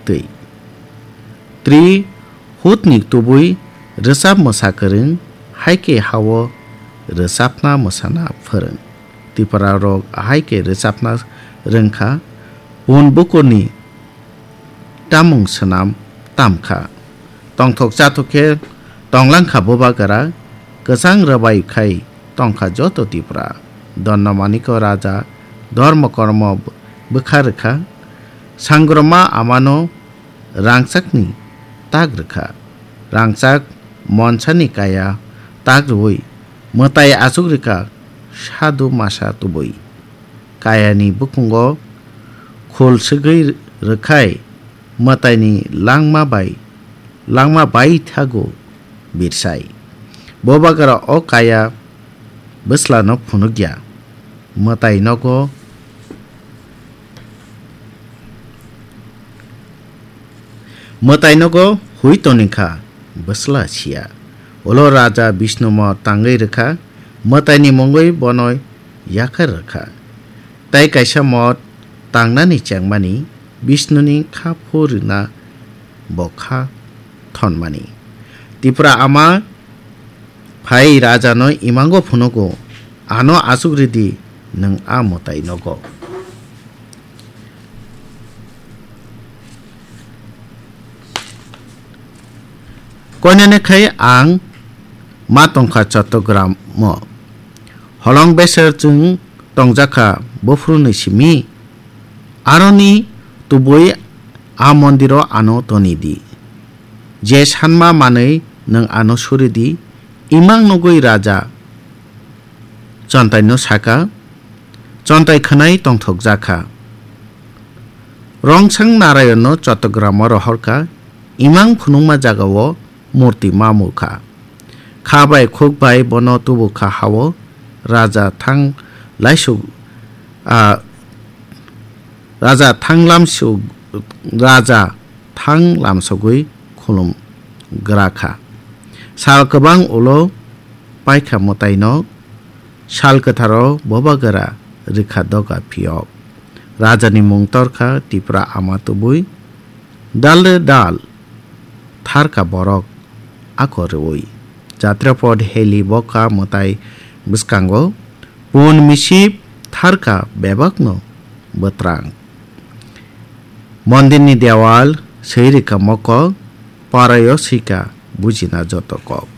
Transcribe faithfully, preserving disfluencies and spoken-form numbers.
twi. Tri hutni tubui rwchap mwsa kwrwng, hai khe hao rwchapna mwsana phwrwng. Tipra rok hai khe rwchapna rwngkha, bun bukurni tamung swnam tamkha. Tongthok chathok khe tonglangkha Bubagra, kwchang rwbai khai tongkha joto Tipra. Donno Maniko Raja dhormo kormo bwkha rwkha, Sangroma amano rangchakni tak rwkha. Rangchak monsani kaya tak rwui mwtai achuk rwkha sadhu masa tubui. Kayani bukhungo khul swgwi rwkhai mwtaini langma bai, langma bai thago birsai. Bubagra o kaya bwslano phunukya. Mwtai nogo Mwtai nogo hui toni kha, bwsla siya. Ulo Raja Bishnu mo tangwi rwkha, mwtaini mungwi bono yakhar rwkha. Tai kaisa mo tangnani chengmani Bishnuni kha phu rwna bo kha thonmani. Tipra ama phai Rajano imango phunugo, ano achuk ridi nwng a mwtai nogo. Koinene khai ang ma tongkha Chottogram o. Holong beser chwng tongjakha buphuruni simi. Aroni tubui a mondiro ano toni di. Je sanma manwi nwng ano suri di. Imang nugwi raja Chontaino saka, Chontai khwnai tongthokjakha. Rongsang Narayanno Chottogram o rohorkha, imang phunukma jagao murti ma mukha. Kha bai khuk bai bono tubukha hao, raja thang laisuk, a, raja thang lamsuk, raja thang lamsogwi khulum gra kha. Sal kwbang ulo paikha mwtaino, sal kwtharo bobagra rikha doga phiyok. Rajani mung torkha Tipra ama tubui, dal re dal tharkha borok ako rwui. Jatrapod heli boka mwtai bwskango, pun misip tharkha bebakno bwtrang. Mondirni dewal swi rikha mokok, parayo swikha bujina joto kok.